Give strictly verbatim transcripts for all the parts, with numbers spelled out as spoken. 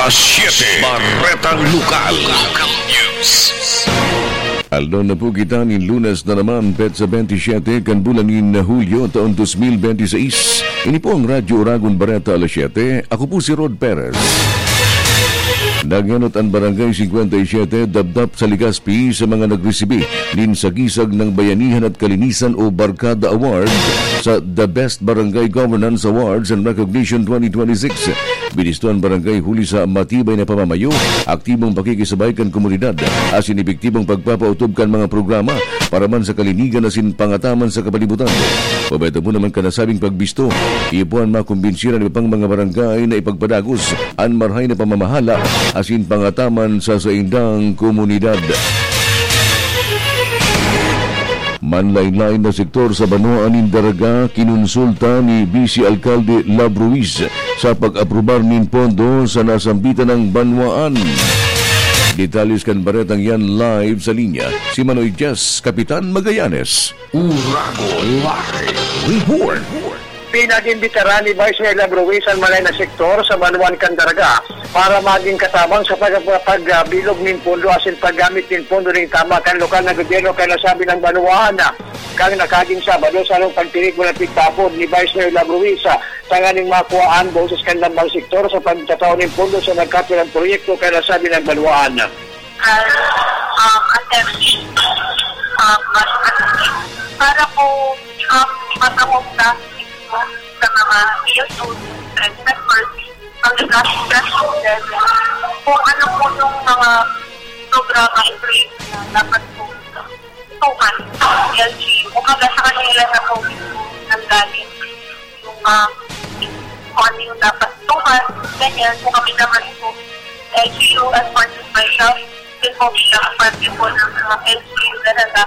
Alas siyete, Baretang Lokal. Local News. Aldaw na po kita nin Lunes na naman, petsa bentisiete kan bulan nin Hulyo, taon dos mil benti seis. Ini po ang Radyo Oragon Bareta Alas siyete. Ako po si Rod Perez. Naghenot an Barangay singkwenta y siyete, Dabdap sa Legazpi, sa mga nagresibi nin Sagisag ng Bayanihan at Kalinisan o Barkada Award sa The Best Barangay Governance Awards and Recognition twenty twenty-six. Binisto an barangay huli sa matibay na pamamayo, aktibong pakikisabay kan komunidad, asin epektibong pagpapautob kan mga programa para man sa kalinigan asin pangataman sa kapalibutan. Pabayad po naman kan nasabing pagbisto, iyo po an makumbinsi an iba pang mga barangay na ipagpadagos an marahay na pamamahala asin pangataman sa saindang komunidad. Manlaen-laen na sektor sa banwaan nin Daraga kinonsulta ni Vice Alkalde Love Ruiz sa pag-aprobar nin pondo sa nasambitan ng banwaan. Detalles kan baretang yan, live sa linya si Manoy Jess Kapitan Magallanes. Uragon Live Report. Pinag-imbitaran ni Vice Mayor Love Ruiz an manlaen na sektor sa banwaan kan Daraga para magin katabang sa pag-, pagbilog nin pondo asin paggamit nin pondo nin tama kan lokal na gobyerno kan nasabing banwaan. Kan nakaaging Sabado, sa along pagtiripon na pigtapod ni Vice Mayor Love Ruiz, tanganing makuha an boses kan lambang sektor sa pagtatao nin pondo sa nagkapirang proyekto kan nasabing banwaan. As, um, assembly, um, mas, para po, um, matahong na sa mga P S O, sa members, ang level, kung ano po yung mga programa, i-create na dapat po tuhan, L G U. Kumbaga, sa kanila na po nanggaling yung, ah, kung ano yung dapat tuhan, ganyan. Kung kami naman po, L G U as part of myself, din po bilang parte po ng mga L G U talaga.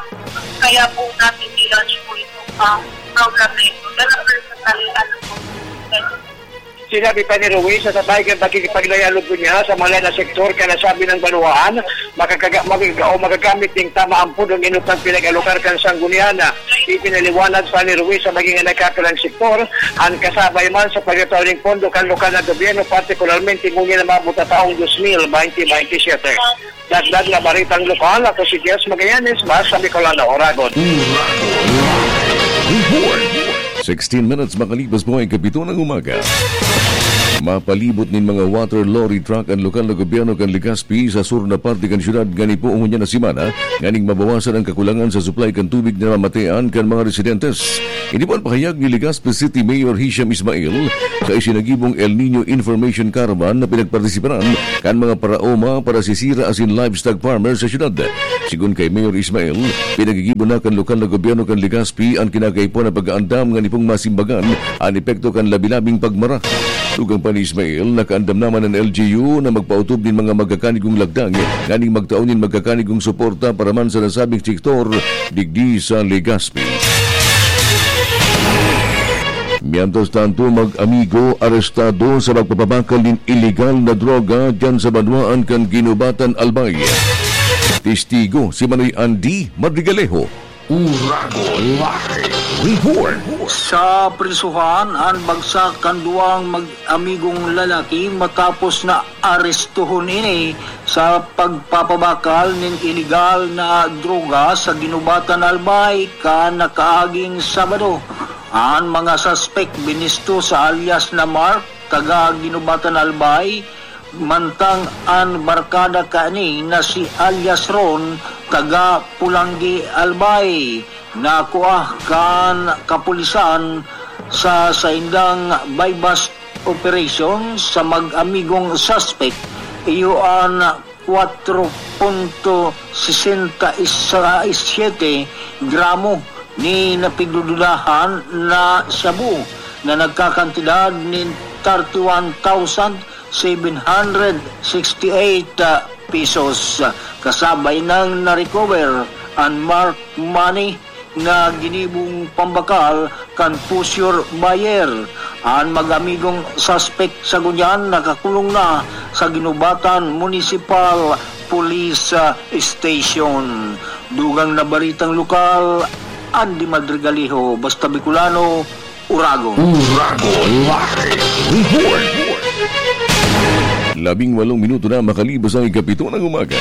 Kaya po natin nilaunch po itong, ah, program na ito. Pero personally, ano po, ganyan. Sinabi pa ni Ruiz na sa bahay kan pakikipagdayalog niya sa mga na sektor kan nasabing banwaan, makakaga-, magaga-, o magagamit ning tama ang pudong inutang pinag-alokar kan sanggunian. Ipinaliwanag pa ni Ruiz sa maging nagkakilang sektor, an kasabay man sa pagtataw ning pondo kan lokal na gobyerno, partikularmente ngunyan na maabot na taong dos mil benti benti siyete. Dagdag na baritang lokal, ako si Jess Magallanes, basta Bicolano, Oragon. Uragon Live Report. Sixteen minutes makalipas po ay kapito ng umaga. Mapalibot nin mga water lorry truck an lokal na gobyerno kan Legazpi sa sur na parte kan syudad ngani po ngunyan na semana, nganing mabawasan ang kakulangan sa supply kan tubig na namamatean kan mga residentes. Ini po an pahayag ni Legazpi City Mayor Hisham Ismail sa isinagibong El Niño Information Caravan na pinagpartisiparan kan mga paraoma, parasisira asin livestock farmers sa syudad. Sigon kay Mayor Ismail, pinagigibo na kan lokal na gobyerno kan Legazpi an kinakaipuhan na pag-aandam ngani pong masimbagan an epekto kan labi-labing pagmara. Tugang pa ni Ismail, nakaandam naman an L G U na magpaotob nin mga magkakanigong lagdang nganing magtao nin magkakanigong suporta para man sa nasabing sektor digdi sa Legazpi. Mientras tanto, mag-amigo arestado sa pagpapabakal nin iligal na droga diyan sa banwaan kan Guinobatan, Albay. Testigo si Manoy Andy Madrigalejo. Uragon Live Report. Sa prisuhan an bagsak kan duwang mag-amigong lalaki matapos na arestohon ini sa pagpapabakal nin iligal na droga sa Guinobatan, Albay, kan nakaaging Sabado. An mga suspek binisto sa alias na Mark, taga Guinobatan, Albay, mantang an barkada kaini na si alias Ron, taga Pulanggi, Albay, nakua kan kapulisan sa saindang buy-bust operation sa mag-amigong suspek. Iyo an kwatro punto sesenta y siyete gramo ni napigdududahan na shabu na nagkakantidad nin thirty-one thousand seven hundred sixty-eight pesos. Kasabay nang na-recover an marked money na ginibong pambakal kan pusher buyer. An mag-amigong suspek sa ngunyan nakakulong na sa Guinobatan Municipal Police, ah, Station. Dugang na baritang lokal, Andy Madrigalejo, Basta Bicolano, Uragon. Uragon Live Report. Labing walong minuto na makalipas ang ikapito ng umaga.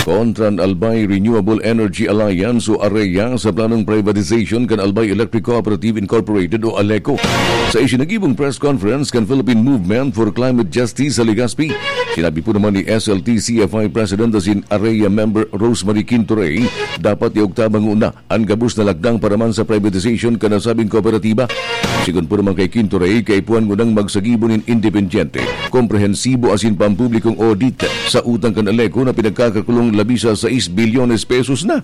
Kontra an Albay Renewable Energy Alliance o AREA sa planong privatization kan Albay Electric Cooperative Incorporated o ALECO. Sa isinagibong press conference kan Philippine Movement for Climate Justice sa Legazpi, sinabi po naman ni S L T C F I President asin AREA member Rosemary Quintoray, dapat iugtabang una an gabos na lakdang paraman sa privatization kan nasabing kooperatiba. Sigon po naman kay Quintoray, kaipuhan ngunang magsagibo nin independyente, komprehensibo asin pampublikong audit sa utang kan ALECO na pinagkakakulong labi sa sais bilyones pesos na.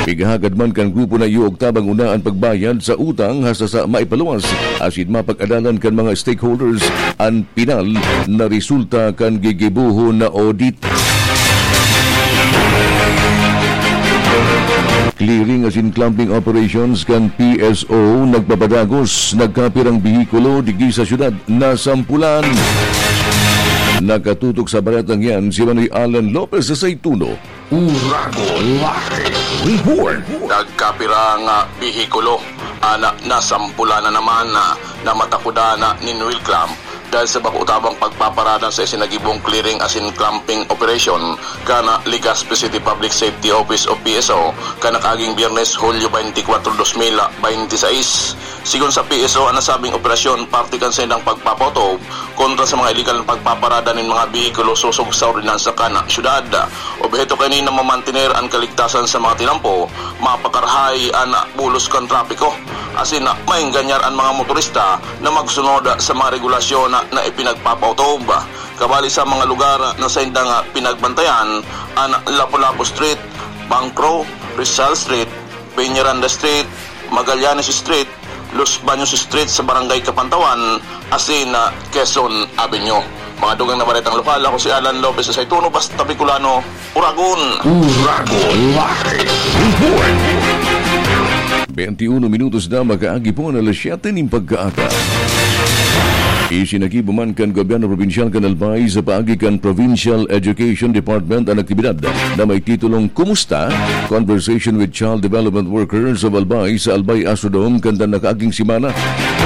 Pighahagad man kan grupo na iuugtabang una an pagbayad sa utang hasta sa maipaluwas asin mapag-adalan kan mga stakeholders an pinal na resulta kan gigibohon na audit. Clearing asin clumping operations kan P S O nagpapadagos, nagkapirang behikulo digdi sa syudad nasampulan. Nakatutok sa baretang yan si Manoy Alan Lopez sa Saituno. Uragon Live Report. Nagkapirang behikulo an nasampulan na naman na matakudan nin wheel clamp dahil sa bako tabang pagpaparada sa isinagibong clearing asin clumping operation kan Legazpi City Public Safety Office o P S O kan nakaaging Biyernes, Hulyo twenty-four, twenty twenty-six. Sigon sa P S O, an nasabing operasyon parte kan saindang pagpapautob kontra sa mga iligal na pagpaparada nin mga behikulo sosog sa ordinansa kan syudad. Obheto kaini na mamantener an kaligtasan sa mga tinampo, mapakarahay an bulos kan trapiko, asin maenganyar an mga motorista na magsunod sa mga regulasyon na ipinagpapautob. Kabali sa mga lugar na saindang pinagbantayan, an Lapu-Lapu Street, Bancro, Rizal Street, Peñaranda Street, Magallanes Street, Los Baños Street sa Barangay Capantawan, asin Quezon Avenue. Mga dugang na baretang lokal, ako si Alan Lopez sa Saituno, basta Bicolano, Uragon. Uragon Live Report. Twenty-uno minutos na makaagi po na alas siyete nin pagkaaga. Isinagibo man kan gobyerno probinsyal kan Albay sa paagi kan Provincial Education Department an aktibidad na may titulong Kumusta? Conversation with Child Development Workers of Albay sa Albay Astrodome kan nakaaging semana.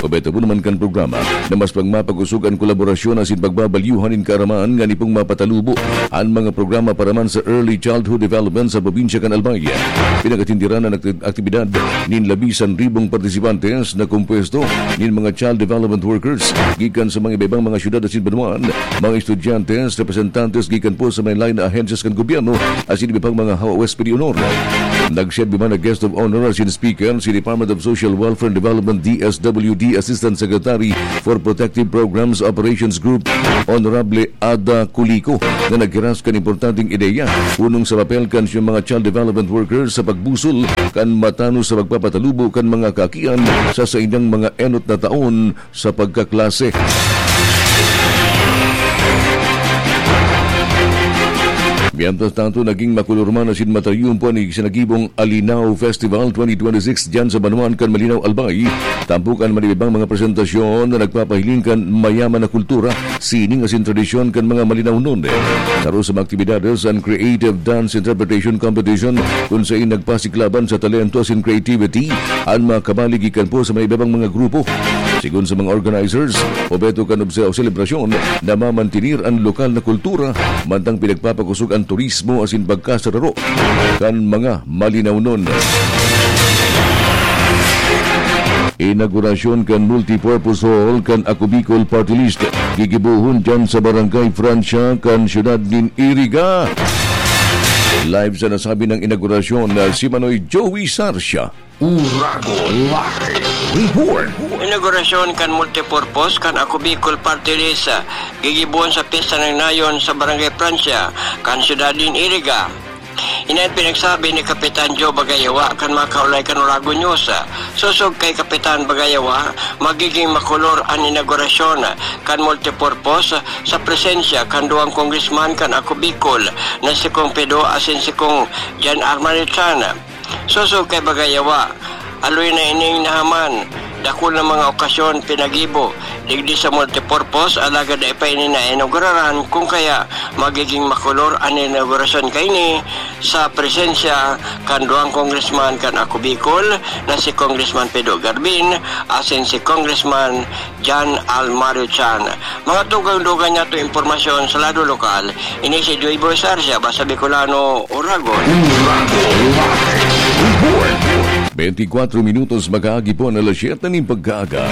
Obheto po naman kan programa na mas pagmapakosog an kolaborasyon asin pagbabalyuhan nin kaaraman ngani pong mapatalubo an mga programa paraman sa early childhood development sa probinsya kan Albay. Pinagatindiran an akti-, aktibidad nin labi san ribong partisipantes na kompuesto nin mga child development workers gikan sa mga iba-ibang mga syudad asin banwaan, mga estudyante, representantes gikan po sa may lain na ahensyas kan gobyerno asin iba pang mga hawawes pidi honor. Nagserbi man na guest of honor asin speaker si Department of Social Welfare and Development, D S W D, Assistant Secretary for Protective Programs Operations Group, Honorable Ada Kuliko, na naghiras kan importanteng ideya punong sa papel kan siyang mga child development workers sa pagbusol kan matanos sa pagpapatalubo kan mga kaakian sa saindang mga enot na taon sa pagkaklase. Mientras tanto, naging makulor man asin matariyom po an isinagibong Alinao Festival twenty twenty-six diyan sa banwaan kan Malinao, Albay. Tampok an iba-ibang mga presentasyon na nagpapahiling kan mayaman na kultura, sining asin tradisyon kan mga Malinaonon. Saro sa mga aktibidades an Creative Dance Interpretation Competition, kun sain nagpasiklaban sa talento asin creativity an mga kabali gikan po sa mga iba-ibang mga grupo. Sigon sa mga organizers, obheto kan obse-, selebrasyon na mamantinir an lokal na kultura, mantang pinagpapakosog an turismo asin pagkasararo kan mga Malinaonon. Inaugurasyon kan multipurpose hall kan Ako Bicol Party List, gigibohon diyan sa Barangay Francia kan siyudad nin Iriga. Live sa nasabi ng inaugurasyon na si Manoy Joey Sarcia. Uragon Live Report. Inaugurasyon kan multipurpose kan Ako Bicol Party List, ah, gigibohon sa Pyesta ng Nayon sa Barangay Francia, kan siyudad nin Iriga. Ini an pinagsabi ni Kapitan Joe Bagayawa kan mga kaulay kan Uragon News. Sosog kay Kapitan Bagayawa, magiging makulor an inaugurasyon kan multipurpose sa presensya kan duwang congressman kan Ako Bicol na si Kong Pido asin si Kong Jan Armani Tran. Sosog kay Bagayawa, aloy na ining nahaman Dakul na mga okasyon pinagibo digdi sa multipurpose, alagad dai pa ini nainauguraran, kung kaya magiging makulor an inaugurasyon kaini sa presensya kan duwang congressman kan Ako Bicol na si Congressman Pedro Garbin asin si Congressman John Almario Chan. Mga dugang-dugang niyato impormasyon sa lado lokal, ini si Joy Boy Sarsia, Basta Bicolano, Oragon. Bentikwatro minutos makaagi po na alas siyete nin pagkaaga.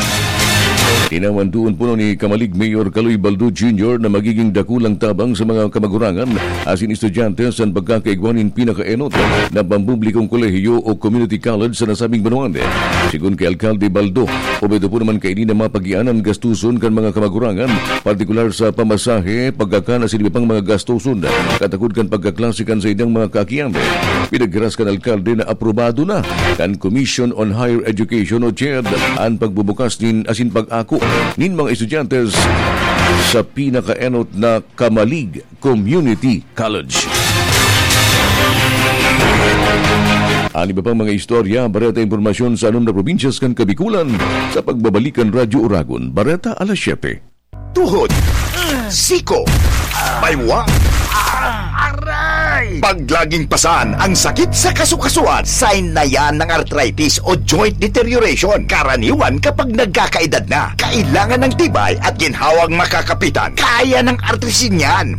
Tinawan duon po ni Camalig Mayor Kaloy Baldo Junior na magiging dakulang tabang sa mga kamagurangan asin estudyante sa pagkakaigwa nin pinakaenot na pampublikong kolehiyo o community college sa nasabing banwaan. Sigon kay Alkalde Baldo, obra po naman kaini na mapagian an gastuson kan mga kamagurangan, partikular sa pamasahe, pagkakan asin iba pang mga gastuson katakod kan pagkaklase kan saindang mga kaakian. Pinaghiras kan alkalde na aprobado na kan Commission on Higher Education o CHED an pagbubukas nin asin pag-ako nin mga estudyante sa pinakaenot na Camalig Community College. An iba pang mga istorya, bareta, impormasyon sa anom na probinsyas kan Kabikulan sa pagbabalik kan Radyo Oragon. Bareta alas siyete. Tuhod, siko, baywa, aray! Pag laging pasan ang sakit sa kasukasuan, sign na yan ng arthritis o joint deterioration. Karaniwan kapag nagkakaedad na, kailangan ng tibay at ginhawang makakapitan. Kaya ng Artrisin yan.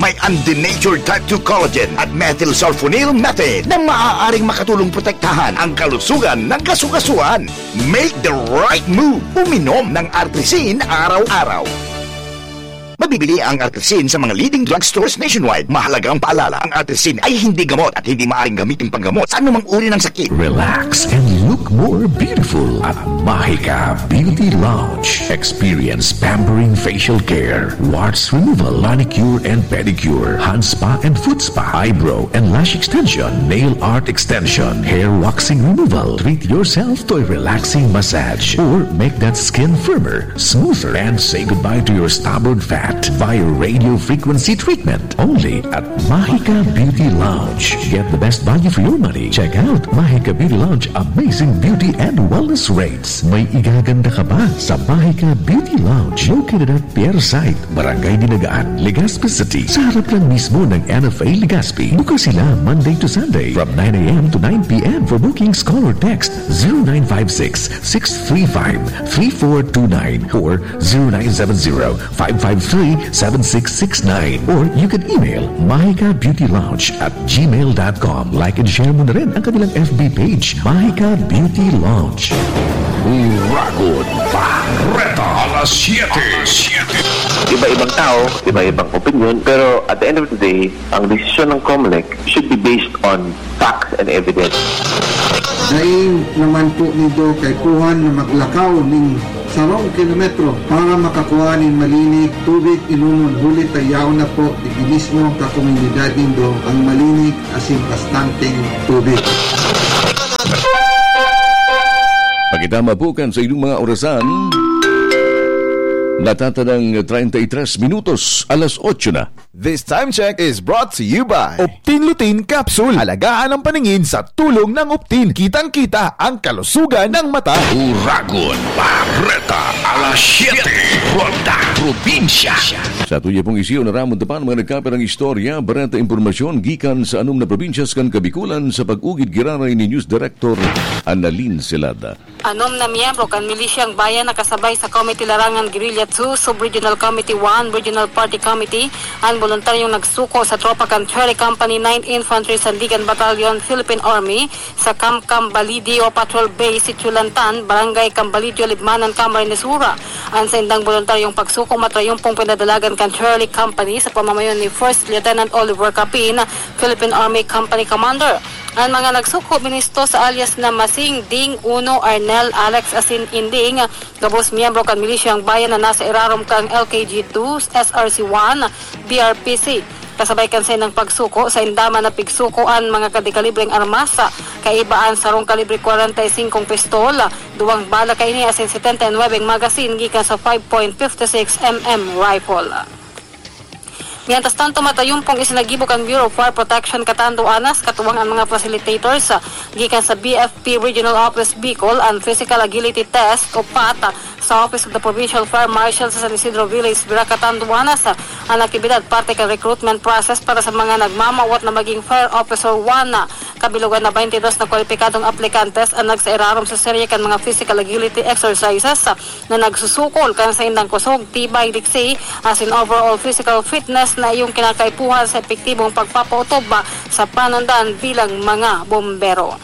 May undenatured type two collagen at methylsulfonyl methane na maaaring makatulong protektahan ang kalusugan ng kasukasuan. Make the right move. Uminom ng Artrisin araw-araw. Mabibili ang Artrisin sa mga leading drugstores nationwide. Mahalagang paalala, ang Artrisin ay hindi gamot at hindi maaaring gamitin panggamot sa anumang uri ng sakit. Relax and look more beautiful at Mahika Beauty Lounge. Experience pampering facial care, warts removal, manicure and pedicure, hand spa and foot spa, eyebrow and lash extension, nail art extension, hair waxing removal. Treat yourself to a relaxing massage or make that skin firmer, smoother, and say goodbye to your stubborn fat via radio frequency treatment. Only at Mahika Beauty Lounge. Get the best value for your money. Check out Mahika Beauty Lounge amazing beauty and wellness rates. May igaganda ka ba sa Mahika Beauty Lounge? Located at Pier Site, Barangay Dinagaan, Legazpi City, sa harap lang mismo ng N F A Legazpi. Bukas sila Monday to Sunday from nine a m to nine p m. For bookings, call or text zero nine five six, six three five, three four two nine or zero nine seven zero, five five three, seven six six nine. Or you can email mahika beauty lounge at gmail dot com. Like and share mo na rin ang kanilang F B page, Mahika Beauty Lounge. Uragon Bareta, alas siyete. Iba-ibang tao, iba-ibang opinion, pero at the end of the day, ang desisyon ng Comelec should be based on facts and evidence. Dai naman po nindo kaipuhan na maglakaw nin sarong kilometro para makakua nin malinig tubig inomon, huli ta yaon na po digdi mismo kan komunidad nindo ang malinig asin bastanteng tubig. Pakitama po kan saindong mga orasan. Natatadang treinta y tres minutos, alas otso na. This time check is brought to you by Optin Lutein Capsule. Alagaan ang paningin sa tulong ng Optin. Kitang-kita ang kalusugan ng mata. Uragon Bareta, alas siyete, Ronda Probinsya. Sa tuya pong isiyo na ramon tapan mga nagkapirang istorya, bareta, impormasyon gikan sa anom na probinsyas kan Kabikulan sa pag-ugid giraray ni News Director Annalyn Celada. Anom na miyembro kan Milisyang Bayan na kasabay sa Committee Larangan Guerrilla two, Sub-Regional Committee one, Regional Party Committee, an boluntaryong nagsuko sa tropa kan Third Company Ninth Infantry Sandigan Battalion, Philippine Army, sa Camp Cambalidio Patrol Base, Sitio Lantan, Barangay Cambalidio, Libmanan, Camarines Sur. An saindang boluntaryong pagsuko matrayumpong pinadalagan kan Third Company sa pamamayo ni First Lieutenant Oliver Capin, Philippine Army Company Commander. An mga nagsuko, binuesto sa alias na Masing, Ding, Uno, Arnel, Alex, asin Inding, gabos miyembro kan Milisyang Bayan na nasa irarom kan L K G two, S R C one, B R P C. Kasabay kan saindang pagsuko, sainda man napigsuko an mga kadikalibreng armas, kaiba an sarong kalibre kwarenta y singkong pistol, duwang bala kaini asin setenta y nuwebeng magasin gikan sa five point fifty six M M rifle. Mientras tanto, matayumpong isinagibo kan Bureau of Fire Protection Catanduanes, katuwang an mga facilitators, ah, gikan sa B F P Regional Office Bicol, an Physical Agility Test o PAT, ah, sa Office of the Provincial Fire Marshal sa San Isidro Village, Virac, Catanduanes. Ah, an aktibidad parte kan recruitment process para sa mga nagmamawot na maging Fire Officer one, ah, kabilogan na twenty-dos na kwalipikadong aplikantes an nagsairarom sa serye kan mga physical agility exercises, ah, na nagsusukol kan saindang kusog, tibay, diksi, asin overall physical fitness na iyong kinakaipuhan sa epektibong pagpapautob sa panandan bilang mga bombero.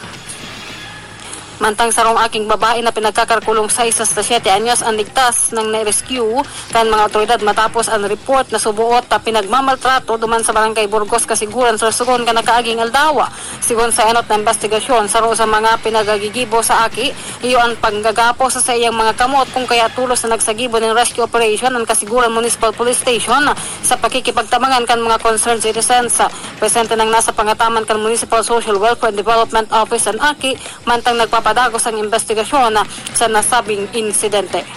Mantang sarong aking babae na pinagkakarkulong sais hasta siyete anyos an ligtas nang na-rescue kan mga awtoridad matapos an report na suboot na pinagmamaltrato duman sa Barangay Burgos, Casiguran, Sorsogon kan nakaaging aldaw. Sigon sa enot na imbestigasyon, saro sa mga pinagagigibo sa aki, iyo an panggagapo sa saiyang mga kamot, kung kaya tolos na nagsagibo nin rescue operation an Casiguran Municipal Police Station sa pakikipagtabangan kan mga concerned citizens. Presente nang nasa pangataman kan Municipal Social Welfare and Development Office an aki, mantang nagpapadagos ang imbestigasyon sa nasabing insidente.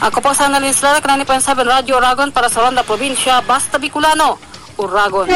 Ako po si Annalyn Slara, kan ninety point seven Radyo Oragon para sa Ronda Probinsya, Basta Bicolano, Oragon.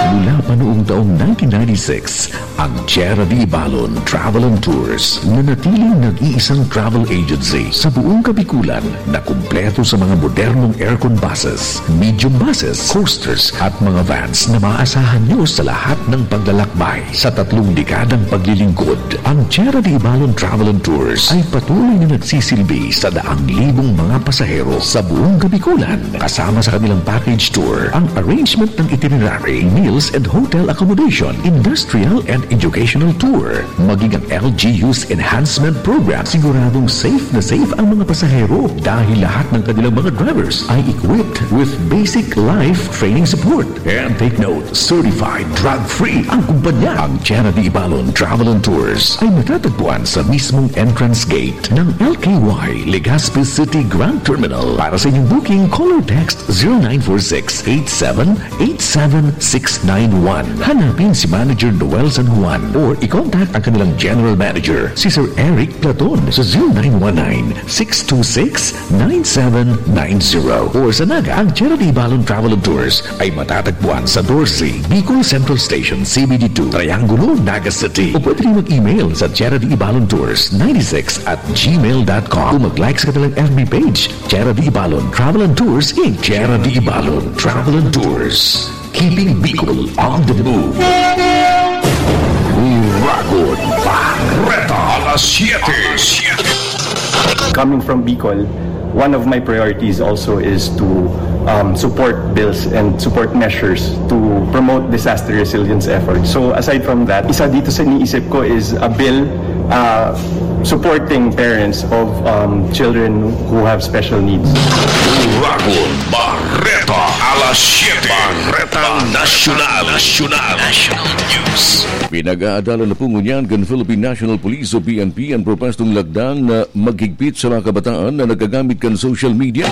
Mula pa noong taong nineteen ninety-six, ang Tierra de Ibalon Travel and Tours nanatiling nag-iisang travel agency sa buong Kabikulan na kumpleto sa mga modernong aircon buses, medium buses, coasters at mga vans na maaasahan nyo sa lahat ng paglalakbay. Sa tatlong dekadang paglilingkod, ang Tierra de Ibalon Travel and Tours ay patuloy na nagsisilbi sa daang libong mga pasahero sa buong Kabikulan. Kasama sa kanilang package tour ang arrangement ng itinerary, meals and hotel accommodation, industrial and educational tour, maging ang L G U's enhancement program. Siguradong safe na safe ang mga pasahero dahil lahat ng kanilang mga drivers ay equipped with basic life training support. And take note, certified drug-free ang kumpanya. Ang Tierra de Ibalon Travel and Tours ay matatagpuan sa mismong entrance gate ng L K Y Legazpi City Grand Terminal. Para sa inyong booking, call or text zero nine four six eight seven eight seven six nine one. Hanapin si Manager Noel San Juan or i-contact ang kanilang General Manager, si Sir Eric Platon, sa zero nine one nine six two six nine seven nine zero. Or sa Naga, ang Tierra de Ibalon Travel and Tours ay matatagpuan sa Dorsey, Bicol Central Station, C B D two, Triangulo, Naga City. O pwede rin mag-email sa Tierra de Ibalon Tours ninety-six at gmail dot com o mag-like sa kanilang F B page, Tierra de Ibalon Travel and Tours, Inc. Tierra de Ibalon Travel and Tours. Keeping Bicol on the move. Uragon Bareta, alas siyete. Coming from Bicol, one of my priorities also is to, um, support bills and support measures to promote disaster resilience efforts. So aside from that, isa dito sa iniisip ko is a bill, uh, supporting parents of, um, children who have special needs. Uragon Bareta, alas siyete. Bareta Nasyonal. Nasyonal. National News. Pinag-aadalan na po ngunyan kan Philippine National Police o P N P an propwestong lagda na maghigpit sa mga kabataan na naggagamit kan social media.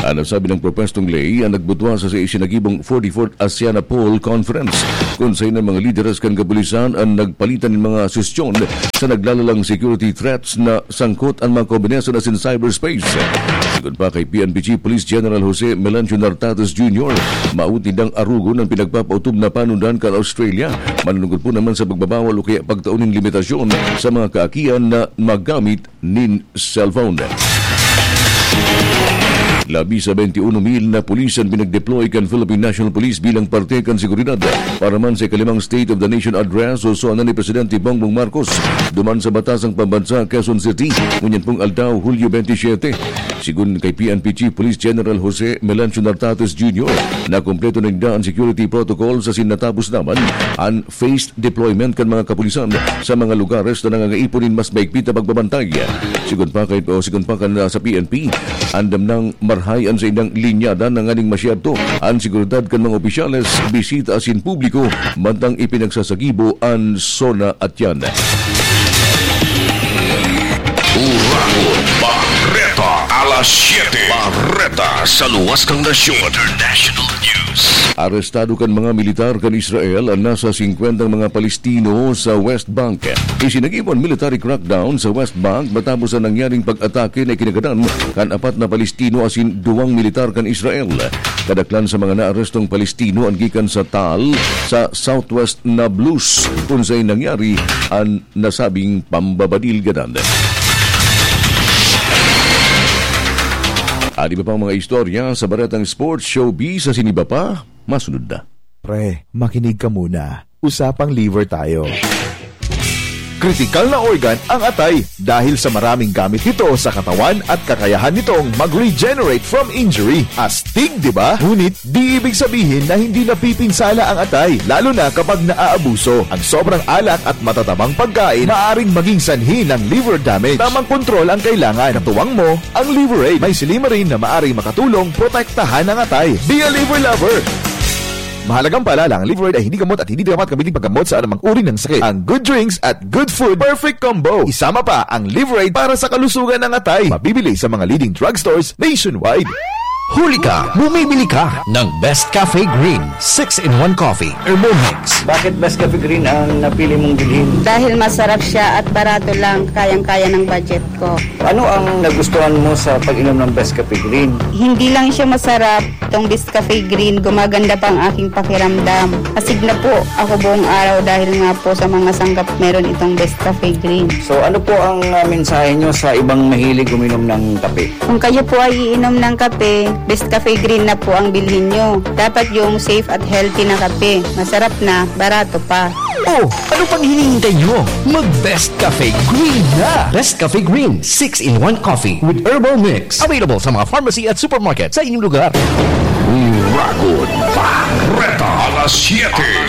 An nasabing propwestong ley an nagbutwa sa isinagibong forty-fourth ASEANAPOL Conference, kun saen an mga lideres kan kapulisan an nagpalitan nin mga suhestyon sa naglalalang security threats na sangkot an mga kombinasyon asin cyberspace. Sigon pa kay P N P Chief Police General Jose Melancio Nartates Junior, mawot nindang arogon an pinagpapaotob na panundan kan Australia, manunungod po naman sa pagbabawal o kaya pagtao nin limitasyon sa mga kaakian na magamit nin cellphone. Labi sa twenty-one mil na pulis an pinag-deploy kan Philippine National Police bilang parte kan seguridad para man sa ikalimang State of the Nation Address o SONA ni Presidente Bongbong Marcos duman sa Batasang Pambansa, Quezon City, ngunyan pong aldaw, Hulyo twenty-seven. Sigon kay P N P Chief Police General Jose Melancio Nartates Junior, nakumpleto na ninda an security protocol asin natapos naman an phased deployment kan mga kapulisan sa mga lugares na nangangaipo nin mas mahigpit na pagbabantay. Sigon pa kay, o sigon pa kan, ah, sa P N P, andam nang marahay an saindang linyada nganing masyerto an seguridad kan mga opisyales, bisita asin publiko, mantang ipinagsasagibo an SONA Atian. Uragon Bareta, alas siyete. Bareta Sa luwas kan nasyon, international news. Arestado kan mga militar kan Israel an nasa singkwentang mga Palestino sa West Bank. Isinagibon military crackdown sa West Bank matapos an nangyaring pag-atake na ikinagadan kan apat na Palestino asin duwang militar kan Israel. Kadaklan sa mga naarestong Palestino an gikan sa Tal, sa Southwest Nablus, kun saen nangyari an nasabing pambabadil gadan. An iba pang mga istorya sa baretang sports, showbiz asin iba pa, masunod na. Pre, makinig ka muna. Usapang liver tayo. Kritikal na organ ang atay dahil sa maraming gamit nito sa katawan at kakayahan nitong mag-regenerate from injury. Astig, di ba? Ngunit di ibig sabihin na hindi napipinsala ang atay, lalo na kapag naaabuso. Ang sobrang alak at matatabang pagkain maaring maging sanhi ng liver damage. Tamang kontrol ang kailangan. Katuwang mo ang Liverade. May silymarin na maaring makatulong protektahan ang atay. Be a liver lover! Mahalagang paalala, ang Liverade ay hindi gamot at hindi dapat gamitin paggamot sa anumang uri ng sakit. Ang good drinks at good food, perfect combo. Isama pa ang Liverade para sa kalusugan ng atay. Mabibili sa mga leading drugstores nationwide. Huli ka! Bumibili ka ng Best Cafe Green six-in-one Coffee Herbal Mix. Bakit Best Cafe Green ang napili mong bilhin? Dahil masarap siya at barato lang, kayang-kaya ng budget ko. Ano ang nagustuhan mo sa pag-inom ng Best Cafe Green? Hindi lang siya masarap, itong Best Cafe Green, gumaganda pa ang aking pakiramdam. Astig na po ako buong araw dahil nga po sa mga sangkap meron itong Best Cafe Green. So, ano po ang, ah, mensahe nyo sa ibang mahilig uminom ng kape? Kung kayo po ay iinom ng kape, Best Cafe Green na po ang bilhin nyo. Dapat yung safe at healthy na kape. Masarap na, barato pa. Oh, ano pang hinihintay nyo? Mag Best Cafe Green na! Best Cafe Green six-in-one Coffee with Herbal Mix. Available sa mga pharmacy at supermarket sa inyong lugar. Uragon Bareta, alas siyete.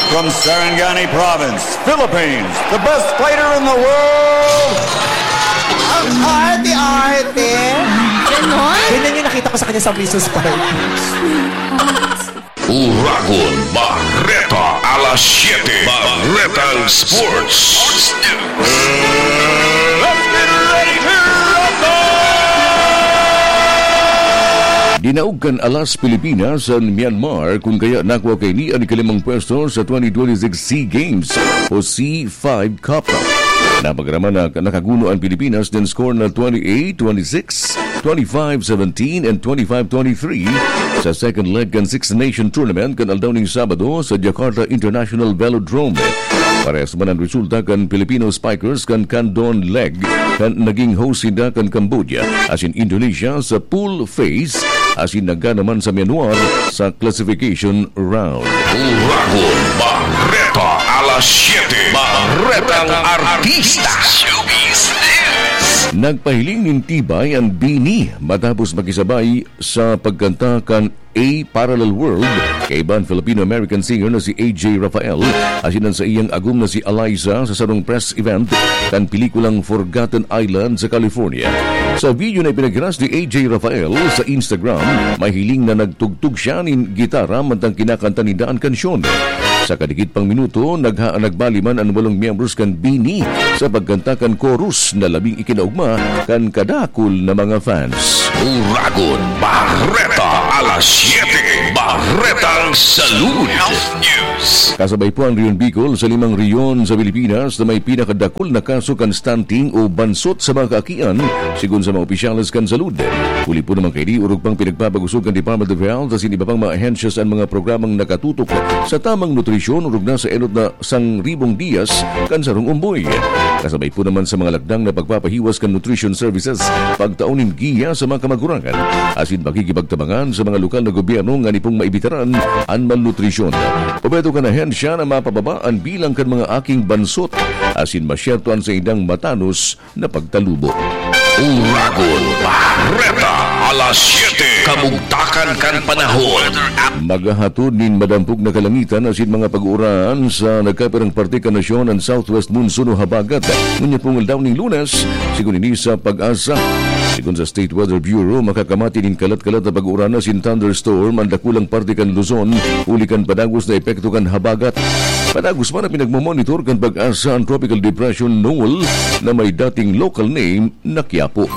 From Sarangani Province, Philippines, the best fighter in the world. Ang arte-arte. Ganon? Ganyan yung nakita ko sa kanya sa Princess Park. Uragon Bareta, alas siyete. Baretang Sports. Let's get ready to rumble! Dinaog kan Alas Pilipinas an Myanmar, kun kaya nakua kaini an ikalimang pwesto sa twenty twenty-six SEA Games o C five Cup. Napagaraman na nakaguno an Pilipinas nin score na twenty-eight twenty-six, twenty-five seventeen and twenty-five twenty-three sa second leg kan Six Nation Tournament kan aldaw ning Sabado sa Jakarta International Velodrome. Parehas man an resulta kan Filipino Spikers kan Kandon Leg kan naging host sinda kan Cambodia asin Indonesia sa pool phase asin nagana man sa Myanmar sa classification round. Uragon Bareta, alas siyete. Baretang Artista. Showbiz News. Nagpahiling nin tibay an BINI matapos makisabay sa pagkanta kan A Parallel World kaiba an Filipino-American singer na si A J Rafael asin an saiyang agom na si Eliza sa sarong press event kan pelikulang Forgotten Island sa California. Sa video na ipinaghiras ni A J Rafael sa Instagram, mahiling na nagtugtog siya nin gitara mantang kinakanta ninda an kansyon. Sa kadikit pang minuto, nagha-, nagbali man an walong miyembros kan BINI sa pagkanta kan chorus na labing ikinaogma kan kadakul na mga fans. Uragon Bareta, alas siyete. Baretang Salud. Health News. Kasabay po ang Rehiyon Bicol sa limang rehiyon sa Pilipinas na may pinakadakul na kaso kan stunting o bansot sa mga kaakian, sigon sa mga opisyales kan salud. Huli po naman kaini, orog pang pinagpapagusog kan Department of Health asin iba pang mga ahensya sa mga programang nakatutok sa tamang nutrisyon, orog na sa enot na sangribong diyas kan sarong umboy. Kasabay po naman sa mga lakdang na pagpapahiwas kan nutrition services, pagtao nin giya sa mga kamagurangan, asin pakikipagtabangan sa mga lokal na gobyerno ngani pong maibitaran an malnutrisyon. Obheto kan ahensya na mapababa an bilang kan mga aking bansot asin masyerto an saindang matanos na pagtalubo. Uragon Bareta, alas siyete. Kabugtakan kan panahon. Maghahatod nin madampog na kalangitan asin mga pag-uuran sa nagkapirang parte kan nasyon an southwest monsoon o habagat ngunyan pong aldaw ning Lunes, sigon ini sa PAGASA. Sigon sa State Weather Bureau, makakamati nin kalat-kalat na pag-uuran asin thunderstorm an dakulang parte kan Luzon, huli kan padagos na epekto kan habagat. Padagos man na pinagmomonitor kan PAGASA an Tropical Depression Noel na may dating local name na Quiapo.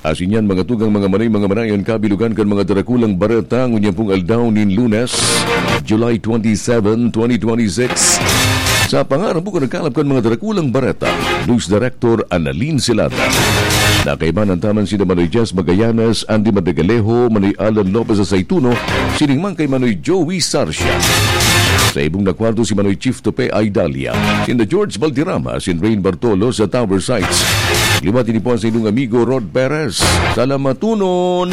Asin yan, mga tugang, mga manay, mga manayon, kabilugan kan mga darakulang bareta ngunyan pong aldaw nin Lunes, July twenty-seven, twenty twenty-six. Sa pangaran po kan nagkalap kan mga darakulang bareta, News Director Annalyn Silata. Nakaiba na taman sina Manoy Jess Magallanes, Andy Madagalejo, Manoy Alan Lopez Aceituno, sining man kay Manoy Joey Sarcia. Sa ibong na kwarto si Manoy Chief Tope Aidalia, sinda George Valderrama, sin Rain Bartolo sa Tower Sites. Liwat ini po ang sa inyong amigo Rod Perez. Salamatunon!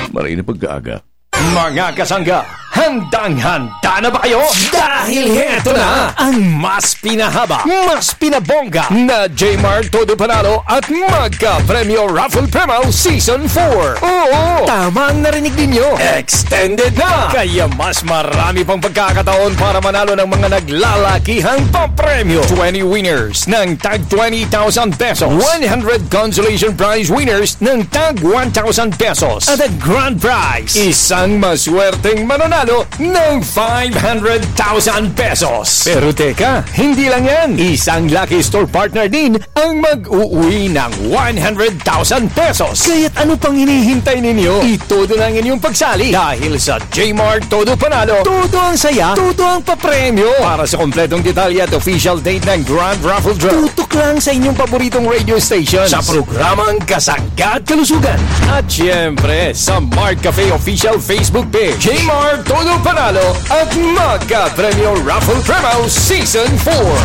Maray na pagkaaga. Mga kasangga, handang-handa na ba kayo? Dahil heto na ang mas pinahaba, mas pinabongga na J-Mart Todo Panalo at Magka Premyo Raffle Promo Season four. Oo, tama ang narinig ninyo. Extended na! Kaya mas marami pang pagkakataon para manalo ng mga naglalakihang papremyo. Twenty winners ng tag twenty thousand pesos. One hundred consolation prize winners ng tag one thousand pesos. At ang grand prize, isang maswerteng mananalo ng five hundred thousand pesos. Pero teka, hindi lang yan. Isang Lucky Store partner din ang mag-uwi ng one hundred thousand pesos. Kaya't ano pang hinihintay ninyo? Itodo na ang inyong pagsali dahil sa J-Mart Todo Panalo, todo ang saya, todo ang papremyo. Para sa kompletong detalye at official date ng Grand Raffle Draw, tutok lang sa inyong paboritong radio station sa programang Kasangga at Kalusugan. At siyempre, sa Mart Cafe Official Facebook page, J-Mart Todo Panalo at Magka Premyo Raffle Promo Season four.